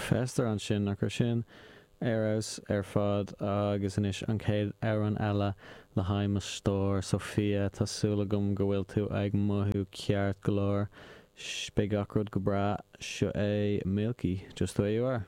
Fester ansin, nach raibh sin ar fheabhas ar fad? Agus anois an chéad amhrán eile le haghaidh mo stór, Sophia, tá súil agam go bhfuil tú ag mothú ceart go leor. Beidh gach rud go breá. Seo é Milky, Just the Way You Are.